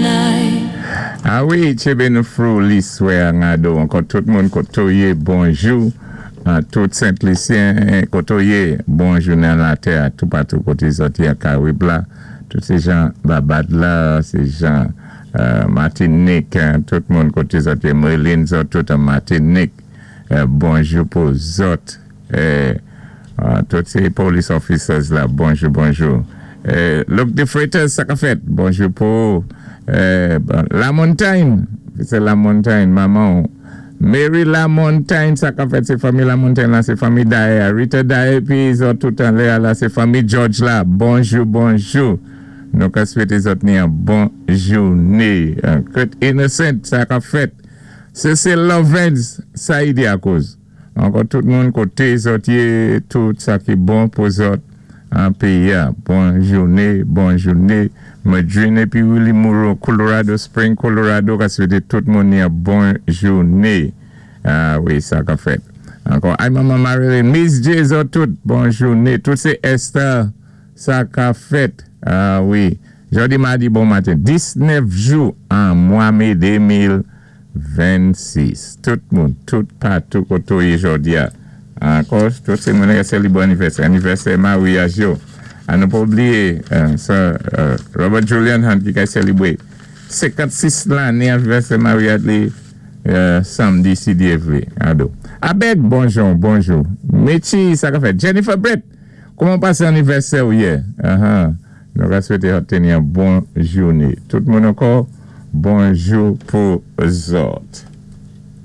Night. A wi, tjébé nou fou liswè an ankò tout moun koto yé, bonjou. A tout Sent Lisyen koto yé, bonjou nan latè, tou patou koté zòt yé Karib la. Tout sé jan Babad la, sé jan Matinik, tout moun koté zòt yé, Merlin zòt tout an Matinik. Bonjou pou zòt. Tout sé police officers la, bonjou, bonjou. Luke de Freitas, sa ka fèt, bonjou pou La Montagne, sé La Montagne, manman. Mary La Montagne, sa ka fèt, sé fanmi La Montagne la, sé fanmi Daye, Rita Daye, pi zòt tout anlè la, sé fanmi George la, bonjou, bonjou. Nou ka swété zòt ni an bon jouné. Kurt Innocent, sa ka fèt. Cecil Lovens, sa y di akoz. Ankò tout moun koté zòt yé, tout sa ki bon pou zòt an péyi. Bon jouné, bon jouné. Madrine épi Willie Moreau, Colorado Spring, Colorado, ka swété tout moun ni an bon jouné. A wi, sa ka fèt. Ankò, ay manman Marilyn, Miss J, zòt tout, bon jouné. Tout sé Esther, sa ka fèt. A wi. Jòdi madi bon maten, 19 jou an mwa mé 2026. Tout moun, tout patou koto yé jòdi a. Ankò, tout sé moun ki sélibré anivèsè. Anivèsè maryaj yo. A nou pa oubliyé, sa, Robert Julian Hunt ki ka sélibré 56 lanné anivèsè maryaj li samdi si Dye vlé. Ado. Abed, bonjou, bonjou. Michi, sa ka fèt. Jennifer Brett, kouman pasé anivèsè ou yè? Nou va swété obteni yon bon jouné. Tout moun ankò, bonjou pou zòt.